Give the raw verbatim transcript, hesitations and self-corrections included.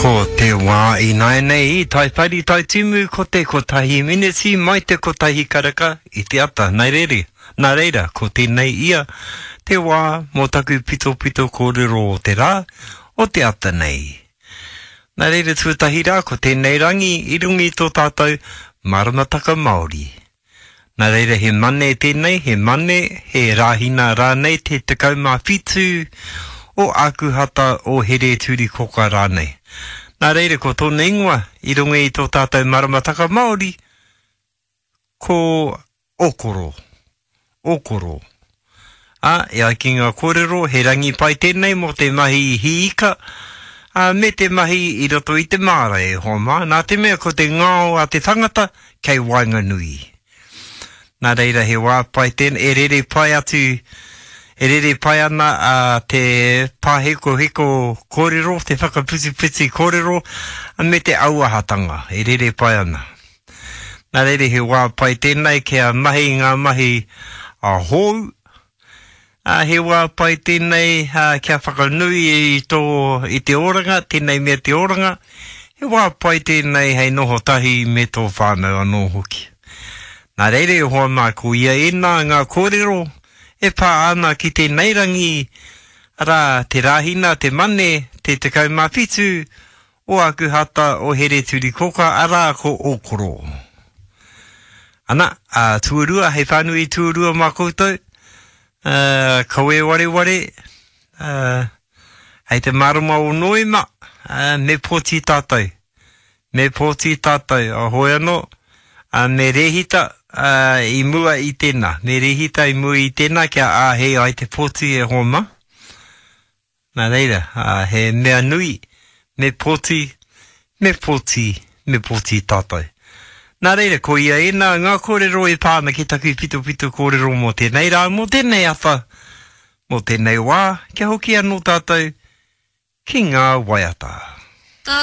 Ko te wā ināianei i Taipari Taitimu ko te kotahi miniti mai te kotahi karaka i te ata. Nā reira, nā reira, ko tēnei ia te wā mō taku pitopito kōrero o te rā, o te ata nei. Nā reira tuatahi rā, ko tēnei rangi i runga i tō tātou maramataka Māori. Nā reira he mane tēnei, he mane, he rāhina rānei te tekau mā whitu o Ākuhata o Here-turi-koka rānei. Nā reira ko tōna ingoa i runga i tō tātou maramataka Māori, ko Okoro. Okoro. Ā, e ai ki ngā kōrero, he rangi pai tēnei mō te mahi hī ika, ā, me te mahi i roto i te māra e hoa mā, nā te mea ko te ngao a te tangata kei waenganui. Nā reira he wā pai tēnei, e rere pai atu, e rere pai ana a te pāhekoheko kōrero, te whakaputiputi kōrero, me te auahatanga, e rere pai ana. Nā reira he wā pai tēnei kia mahi ngā mahi a hou, ā, he wā pai tēnei kia whakanui i tō, i te oranga, tēnei mea te oranga, he wā pai tēnei hei noho tahi me tō whānau anō hoki. Nā reira e hoa mā, ko ia ēnā ngā kōrero e pā ana ki tēnei rangi, arā, te Rāhina, te Mane, te tekau mā whitu o Ākuhata o Here-turi-koka, arā, ko Ōkoro. Ana, ā, tuarua, hei whānui tuarua mā koutou, ā, kawe wareware, ā, hei te marama o Noema, ā, me pōti tātou. Me pōti tātou, a hoi anō, ā, me rēhita, ā, i mua i tēnā. Me rēhita i mua i tēnā kia āhei ai te pōti e hoa mā. Nā reira, ā, he mea nui, me pōti, me pōti, me pōti tātou. Nā reira, ko ia ēnā ngā kōrero e pā ana ki taku pitopito kōrero mō tēnei rā, mō tēnei ata, mō tēnei wā, kia hoki anō tātou ki ngā waiata.